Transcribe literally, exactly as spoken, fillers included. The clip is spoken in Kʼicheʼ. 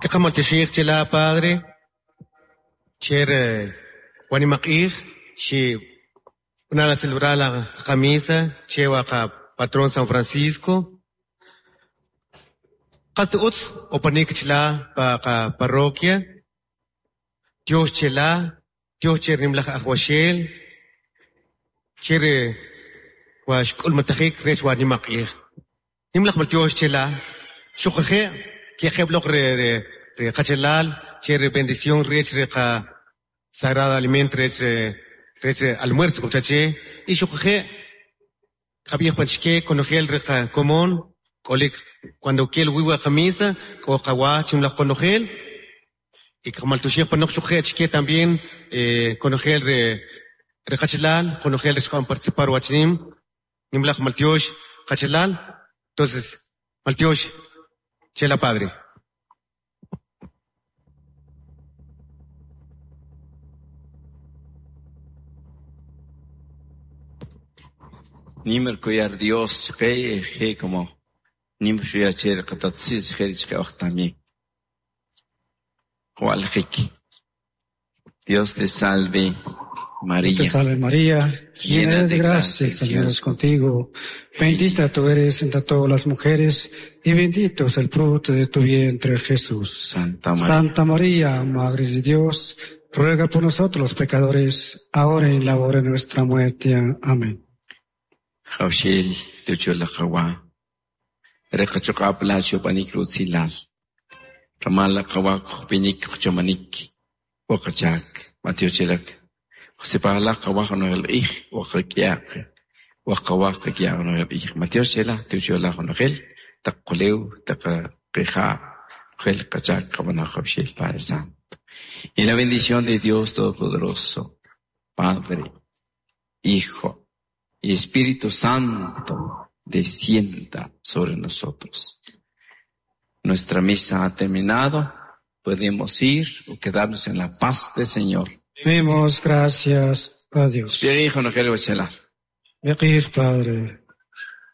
Kaqamaltyoxij chila padre cher wanimaq'ij chi b'anala celebrar la qamisa che wa qapatrón San Francisco qast utz opanik chila' pa qaparroquia tyox chela tyox che nimlaj Ajwaxel che re wa xk'ulmatajik rech wa nimaq'ij nimlaj maltyox chela xuquje' kiqeb' loq re re re qachalal che re bendición rech re qa sagrado alimento rech re rech re almuerzo kujcha che y xuquje' qab'ij pan chike konojel re qakomon k'olik cuando kel wii' wa qamisa k'o qawa chimlaj qonojel y qamaltyoxij panoq xuquje' chike también eh konojel re re qachalal konojel rech qa'an participar wachinim nimlaj maltyox qachalal entonces maltyox chela padre. Nimmer kuyar Dios chqe je como nim xuya che qatatsis je chqe oj también. Qwaljik. Dios te salve María. Te salve María, llena eres de gracia, el Señor es contigo. Bendita tú eres entre todas las mujeres y bendito es el fruto de tu vientre Jesús. Santa María. Santa María, Madre de Dios, ruega por nosotros los pecadores, ahora y en la hora de nuestra muerte. Amén. Jawxil tuchula qawa. Reqachuqap la chupanik rutzilal. Ramala qawa kupinik kuchomanik. Waqachak, matiochilak. Josepala qawa noel ij, waqakiaq. Waqawa qakiaq noel ij. Matiochila tuchula noel. Taquleu, taqija, gel qachak qabana jawxil Padre Santo. Y la bendición de Dios Todopoderoso, Padre, Hijo y Espíritu Santo descienda sobre nosotros. Nuestra misa ha terminado. Podemos ir o quedarnos en la paz del Señor. Demos gracias a Dios. Hijo, no quiero Padre.